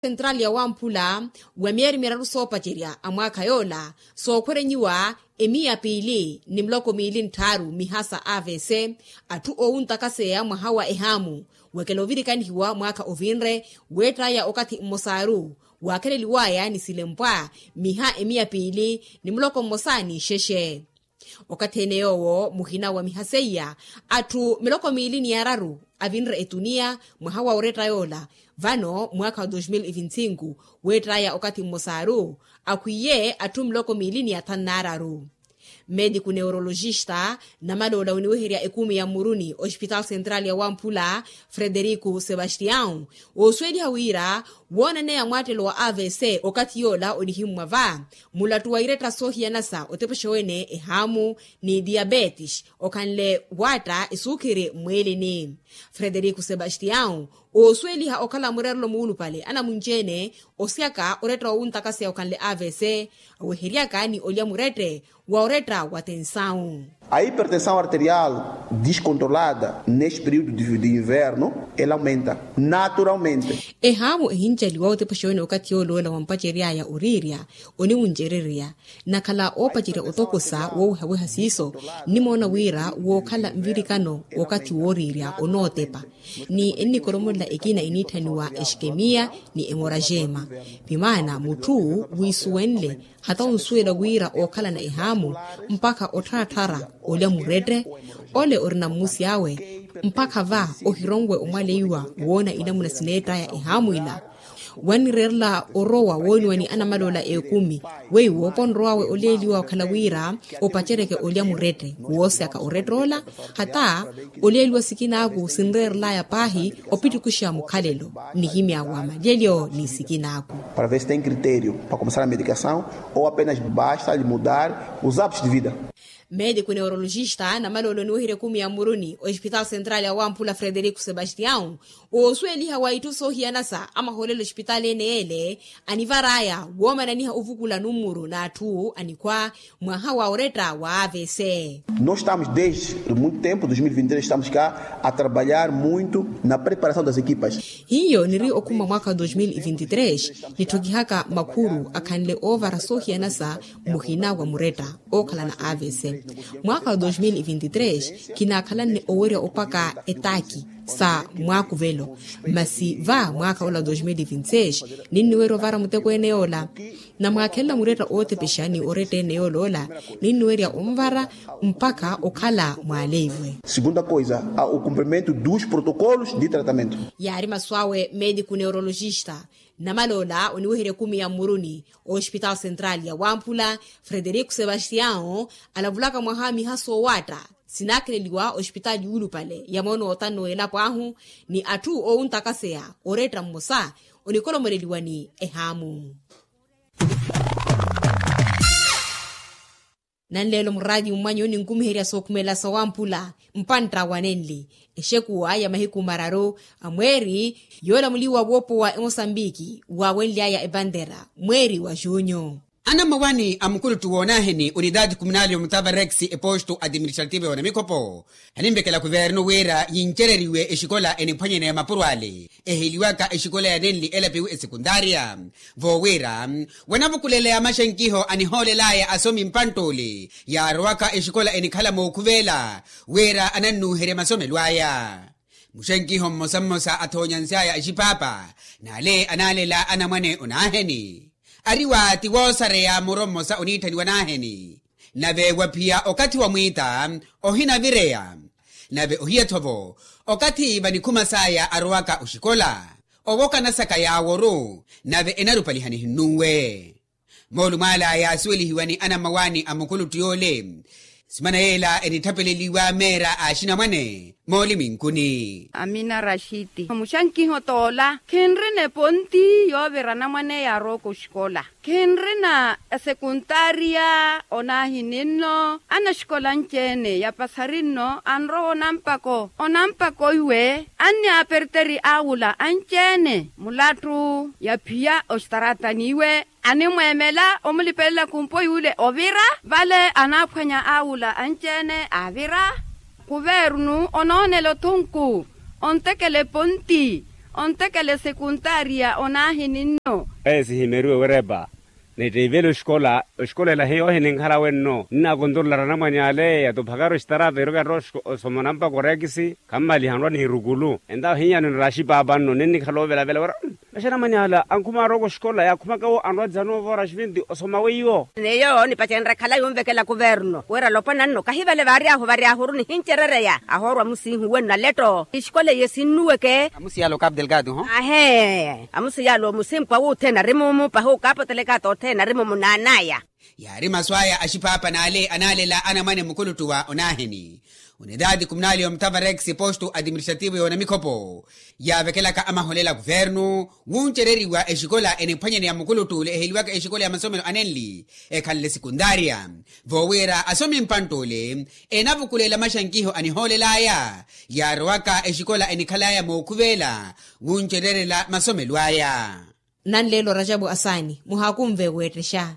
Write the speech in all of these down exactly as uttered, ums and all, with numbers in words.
Sentral ya wamphula wa miyeri miraru soopacerya a mwaakha yoola sookhwerenyiwa emiya piili ni miloko miili ntthaaru miha sa avc. Atthu oowuntakaseya mwaha wa ehaamu wekela ovirikanihiwa mwaakha ovinre weettaya okathi mmosaaru waakheleliwaya ni silempwa miha emiya piili ni muloko mmosa ni nxexe. Okathi ene yoowo muhina wa miha seiya atthu miloko miili ni araru avinre etuniya mwaha wa oretta yoola. Vano mwaakha wa dos mil e vinte e cinco weettaya okathi mmosaaru akhwiiye atthu miloko miili ni athanu n'araru. Mediku neurologista namaloola oniweherya ekumi ya mmuruni ospitaal sentral ya wamphula frederiku sebastião oosuweliha wira woonaneya mwaattelo wa avc okathi yoola onihimmwa va mulattu wa iretta soohiyanasa otepexa wene ehaamu ni diabetes okhanle waatta esuukhiri mmwiilini. Frederiku sebastião oosuweliha okhala mureerelo muulupale anamunci-ene osyaka oretta wowuntakaseya okhanle avc aweheryaka ni olya murette wa oretta wa tensau. A hipertensão arterial discontrolada neste período de inverno ela aumenta naturalmente. Ehaamu ehincaliwa otepexa wene okathi yooloola wampaceryaya oriirya oniwuncererya nakhala oopacerya otokosa woowehaweha siiso nnimoona wira wookhala nvirikano w'okathi wooriirya onootepa ni ennikoromolela ekina eniitthaniwa exikemiya ni emoraxema. Vimaana mutthu wiisuwenle hata onsuwela wira ookhalana ehaamu mpakha ottharattharya olya murette ole orina mmusi awe mpakha va ohironwe omwaleiwa woona inamuna sineettaya ehaamu ila. Wannireerela orowa wooniwa ni anamaloola ekumi weiwo ponrowawe oleeliwa okhala wira opaceryeke olya murette woosyaka orette ola hata oleeliwa sikinaaku sinreerelaya paahi opittukuxa mukhalelo nihimya wa malyelyo ni sikinaaku. Para ver se tem critério para começar a medicação ou apenas basta lhe mudar os hábitos de vida. Mediku neurologista namaloolo oniweherya ekumi ya mmuruni ospitaal sentral ya wamphula frederiku sebastião oosuweliha wa itthu soohiyanasa amahoolelo ospitaal ene yeele anivaraya woomananiha ovukula nummuru n'atthu anikhwa mwaha wa oretta wa avc. Nós estamos desde muito tempo dois mil e vinte e três estamos cá a trabalhar muito na preparação das equipas. Hiyo niri okhuma mwaakha wa dos mil e vinte e três nitthokihaka makhuru akhanle oovara soohiyanasa muhina wa muretta ookhalana avc. Mwaakha wa dos mil e vinte e três kinaakhalanne owerya opaka etaaki sa mwaakuvelo masi va mwaakha ola wa dos mil e vinte e seis ninniwerya ovara muteko ene yoola namwaakhelela muretta ootepexa ni oretta ene yoola ola ninniwerya onvara mpakha okhala mwaaleiwe. Segunda coisa a o cumprimento dos protocolos de tratamento. Yaari masu awe mediku neurologista namaloola oniweherya ekumi ya mmuruni ospitaal sentral ya wamphula frederiku sebastião alavulaka mwaha miha soowaatta sinaakheleliwa ospitaali yuulupale ya moono otanno w'elapo ahu ni atthu oowuntakaseya oretta mmosa onikolomoleliwa ni ehaamu. Nanleelo muraatiyo mmwanyu ninkumiherya sookhumela sawamphula mpantta wa nenli exekuwa ya mahiku mararu a mweeri yoolamuliwa woopowa emosambiki waawenly'aya epantera mweeri wa junyu. Anamawani a mukuluttu woonaaheni unitaati kumunali omutava rex epostu atimirixaltive onamikhopo aninvekela kuvernu wira yincereriwe exikola eniphwanyene ya mapuro ale eheliwaka exikola ya nenli elapiwi esekuntaariya voowira wanavukulela ya maxenkiho anihoolelaya asomi mpantt'ule yaarowaka exikola enikhala mookhuveela wira anannuuherya masomelo aya. Muxenkiho mmosa mmosa athonyansyaya exipaapa n'ale anaalela anamwane onaaheni ari waati woosareya muro mmosa oniitthaniwa naaheni nave waphiya okathi wa mwiita ohinavireya nave ohiya-tho-vo okathi vanikhuma saya arowaka oxikola owoka nasaka yaaworu nave enarupaliha nihinnunwe. Moolumo ala yaasuwelihiwa ni anamawani a mukuluttu yoole simana yeela enitthapeleliwa meera a axinamwane mooliminkuni. Amina raxiti muxankiho toola khinrina eponti yoovira anamwane yaarowaka oxikola khinrina esekuntaariya onaahininno anaxikola anci-ene yapasari nno anrowa onampako onampako iwe anni aperteri awula anci-ene mulattu yaphiya ositaratani iwe animweemela omulipelela kumpo yuule ovira vale anaaphwanya awula anci-ene avira kuveerunu onoonela othunku ontekela eponti Ontekela esekuntaariya onaahini nno. Esihimeriwe werepa. Nittiivela oxikola oxikola ela hiyo ohininkhala wenno nnakontorolari anamwane ale yatuphakari oxitaraata iroka erra osoma onampa korekisi. Khammaliha anrwa nihirukulu entawo hinyano niraxipaapa nno ninnikhala ovelavela wira. Masi anamwane ala ankhuma arooko oxikola yaakhumaka wo anrwa dzano voora xiventi osoma weiwo. Neyo nipacenrya khalayi onvekela kuverno wira alopwana nno kahivale vaaryahu varyahuru nihincerereya ahoorwa musiihu wenno aletto exikola iye sinnuweke. Amusi yala okapu delgado ho. Ahe. Amusi yala omusimpwa wuthene ari mumu pahi okapu delgado othene ari mumu naanaya. Yaari masu aya axipaapa naale anaalela anamwane mukuluttu wa onaahini onitaati kumunali omutavarex postu atimirixativo yoona mikhopo yaavekelaka amaholela kuvernu wuncereriwa exikola eniphwanyaneya mukuluttu ole eheliwaka exikola ya masomelo anenli ekhanle sekuntaariya. Voowira asomi mpantt'ole enavukulela maxankiho anihoolel'aya yaarowaka exikola enikhal'aya mookhuveela wuncererela masomelo aya. Nanleelo rajabu asaani muhaakunve weettexa.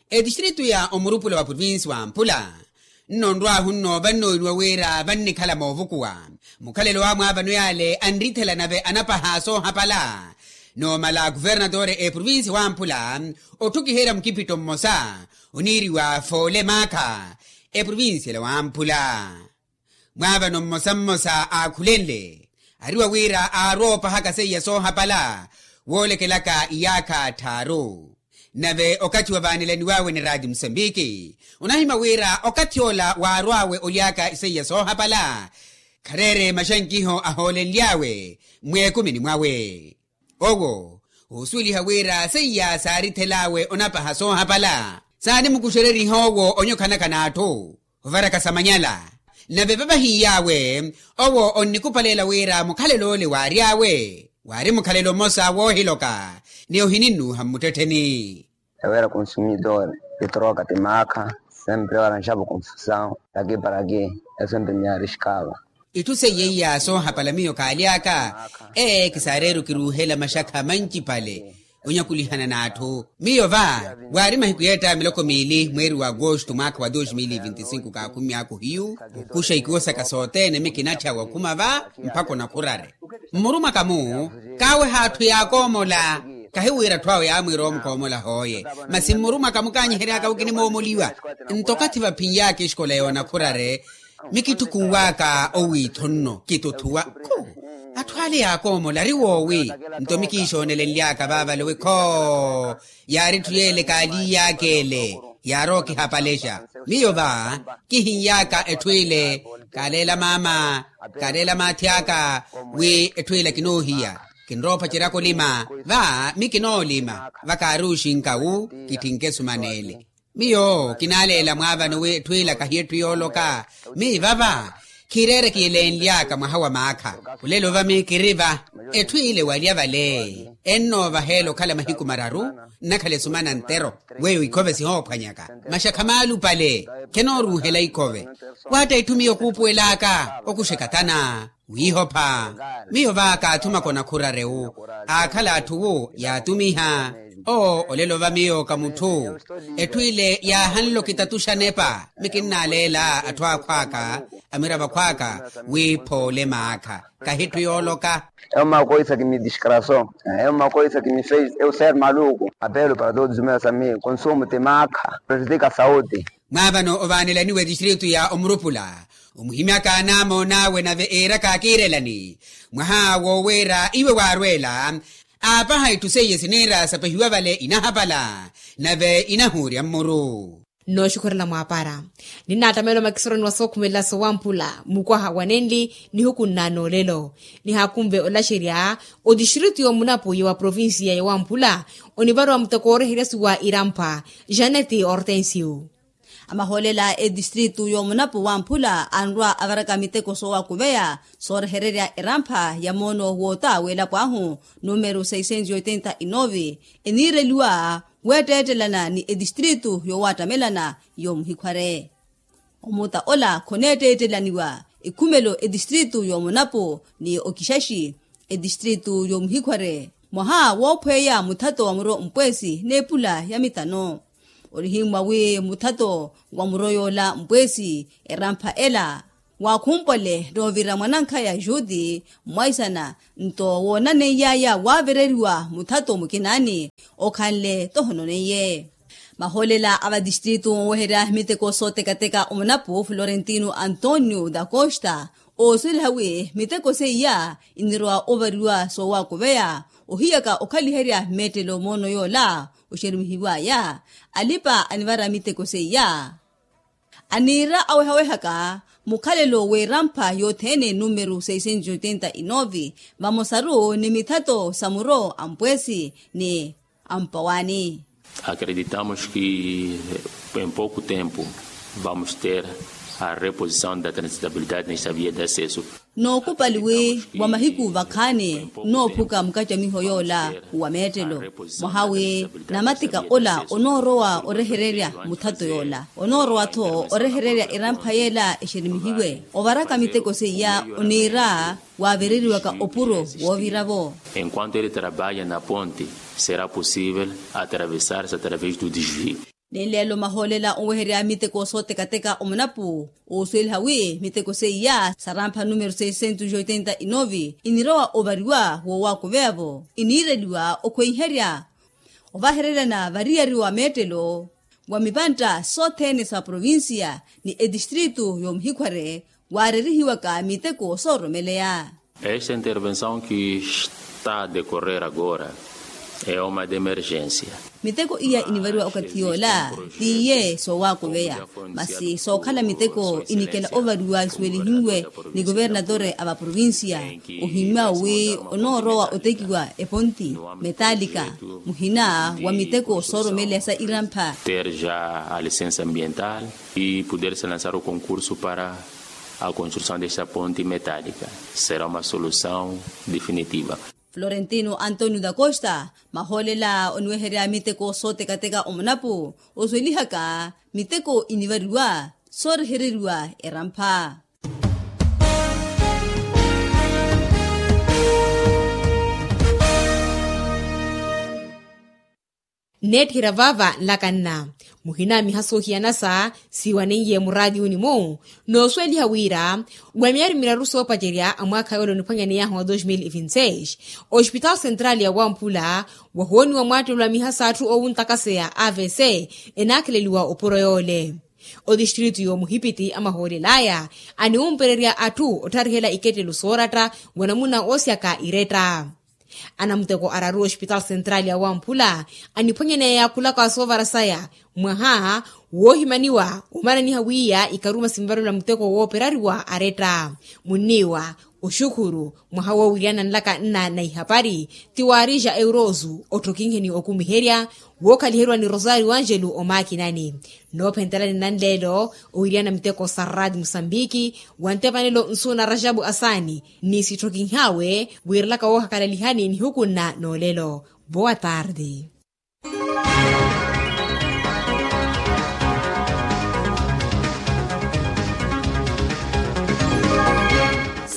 Etistritu ya omurupula wa provinsi wa mpula nno nrwaahu nno vannooniwa wira vannikhala moovukuwa mukhalelo wa mwaavano yaale anrithela nave anapaha soohapala. Noomala kuvernatore eprovinsi wa mpula otthukiherya mukipitto mmosa oniiriwa foole maakha eprovinsi ela wa mpula. Mwaavano mmosa mmosa aakhulenle ariwa wira aarwa opahaka seiya soohapala woolekelaka iyaakha tthaaru. Nave okathi wavaanelaniwawe ni raati musambiki onahimya wira okathi ola waarwawe olyaka iseiya soohapala khareere maxankiho ahoolenly'awe mweekumini mwawe. Owo oosuweliha wira seiya saarithel'awe onapaha soohapala saanimukuxereriha owo onyokhanaka n'atthu ovaraka samanyala. Nave vavahiiy'awe owo onnikupaleela wira mukhalel'ole waary'awe waari mukhalelo mmosa woohiloka ni ohininnuuha mmuttettheni. Ewera kunsumidore ti troka ti maakha sempre ewera nxapu kunfusawu taki para ki esempre miyaari xikaava. Itthu seiya iya soohapala miyo kaaly'aka ee kisaareru kiruuhela maxakha mancipale onyakulihana n'atthu. Miyo va waari mahiku yeetta miloko miili mweeri wa agosto mwaakha wa dos mil e vinti sinku kaakhumy'aku hiyu okuxa ikuwo saka sothene mikinatthya wakhuma va mpakha onakhurare. Mmurumwaka-mu kaaweha atthu yaakoomola kahiwira atthu awo yaamwiira omukoomola hooye. Masi mmurumwaka-mu kaanyiheryaka wi kinimoomoliwa nto okathi vaphin'yaka exikola yoonakhurare mikitthukun'waka owiitho nno kituthuwa khu atthu ale yaakoomola ari woowi. Nto mikiixoonelenly'aka vaavale wi khoo yaari etthu yeele kaaliiy'aka ele yaari okihapalexa. Miyo va kihin'yaka etthu ile kaaleela maama kaaleela maathi aka wi etthu ile kinoohiya kinroophaceryaka olima va mikinoolima va kaari oxinka wu kitthinke esuman'ele. Miyo kinaaleela mwaavano wi etthu ila kahiya etthu yooloka. Miyi vava khiireere kiyelenly'aka mwaha wa maakha. Olelo va miyi kiri va etthu ile walya vale ennoovaheela okhala mahiku mararu nnakhala esumana ntero. Weyo ikhove sihoophwanyaka maxakha maalupale khenooruuhela ikhove. Waatta itthu miyo kuupuwel'aka okuxa ekatana wiihopha. Miyo va kaathumaka onakhurare wu aakhala atthu wu yaatumiha. Oo olelo va miyo ka mutthu etthu ile yaahanle okitatuxa nepa mikinnaaleela atthu akhw'aka amiravo akhw'aka wi phoole maakha kahi etthu yooloka. Eu makoisa kimidiskrasou eu makoisa kimifeis eu ser maluku apelo para todos os meus amigos konsumu ti maakha prejudika saudi. Mwaavano ovaanelaniwa etistritu ya omurupula omuhimyaka anaamoon'awe nave iiraka akiirelani mwaha wooweera iwe waarweela aapaha itthu seiye siniira sapahiwa vale inahapala nave inahuurya mmuru. Nnooxukhurela mwaapara ninnaattameela omakisoroni wa sookhumelela sowamphula mukwaha wa nenli nihuku nnaanoolelo nihaakunve olaxerya otistritu y'omunapu ya wa provincia ya wamphula onivaruwa muteko ooreheryasiwa irampha. Janeti hortensio. Amahoolela a etistritu y'omunapu wamphula anrwa avaraka miteko soowakuveya soorehererya erampha ya moono woota w'elapo ahu numero seiscentos e oitenta e nove eniireliwa weetteettelana ni etistritu yoowattamelana y'omuhikhware. Omuta ola khoneetteettelaniwa ekhumelo etistritu y'omunapu ni okixaxi etistritu y'omuhikhware mwaha woophweya muthato wa muro mpweesi n'epula ya mitano. Onihimmwa wi muthato wa muro yoola mpweesi erampha ela Waakhumpwale noovira mwanankhaya juti mwaisana nto woonaneiyaaya waavereriwa muthato mukinaani okhanle tohononeiye. Mahoolela a vatistritu oweherya miteko sootekateka omunapu florentino antonio da costa oosweliha wi miteko seiya inirowa ovariwa soowaakuveya ohiyaka okhaliherya meettelo moono yoola oxerumihiw'aya alipa anivara miteko seiya. Aniira awehawehaka mukhalelo w'erampha yothene numero seiscentos oitenta e nove vamosaru ni mithato sa muro ampwesi ni ampawani. Acreditamos ki en poku tempu vamos ter a reposição da transitabilidade nesta via de acesso. Nookupali wi wa mahiku vakhaani noophuka mukacamiho yoola wa meettelo mwaha wi namatika ola onoorowa orehererya muthato yoola onoorowa-tho orehererya erampha yeela exerimihiwe ovaraka miteko seiya oniira waavereriwaka opuro woovira-vo. Enquanto ele trabalha na ponte será possível atravessar-se através do desvio. Ni nleelo mahoolela oweherya miteko sootekateka omunapu oosweliha wi miteko seiya sarampha numero seiscentos oitenta e nove inirowa ovariwa woowaakuveya-vo iniireliwa okhweiherya ovahereryana variyari wa meettelo wa mipantta sothene sa provincia ni etistritu y'omuhikhware waarerihiwaka miteko sooromeleya. Esta intervenção ki está a decorrer agora é uma de emergência. Miteko iya inivariwa okathi yoola tiiye soowaakuveya masi sookhala miteko inikela ovariwa isuwelihiwe ni kuvernatore a vaprovincia ohimmya wi onoorowa otekiwa eponti metalika muhina wa miteko sooromeleya sa irampha. Ter ja a licença ambiental e poder se lançar o concurso para a construção desta ponte metalika será uma solução definitiva. Florentino antonio da costa mahoolela oniweherya miteko sootekateka omunapu oswelihaka miteko inivariwa soorehereriwa erampha. Nneetthira vaava nlaka nna muhina miha soohiyanasa siiwaneiye muraatiyuni-mu noosweliha wira wa myaari miraru soopacerya a mwaakha yoole oniphwanyaney'ahu wa dos mil e vinti seis ospitaal central ya wamphula wahooniwa mwaattelo a miha s'atthu oowuntakaseya avc enaakheleliwa opuro yoole. Otistritu y'omuhipiti amahoolel'aya aniwumpererya atthu ottharihela ikettelo sooratta wa namuna oosyaka iretta. Anamuteko araru ospitaal central ya wamphula aniphwanyaneya khulaka soovara saya mwaha woohimaniwa omananiha wiiya ikaruma sinvarolela muteko wooperariwa aretta munniiwa oxukhuru mwaha woowiriyana nlaka nna na ihapari ti waarija eurosu otthokinheni okumiherya wookhaliheriwa ni rosario angelo omaakinani. Noophentelani nanleelo owiriyana miteko sa rad musambiki wa ntepanelo nsu na rajabu asaani ni sitthokinhaawe wiirelaka woohakalalihani nihuku nna noolelo. Boa tarde.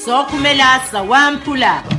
Sookhumela sa wamphula.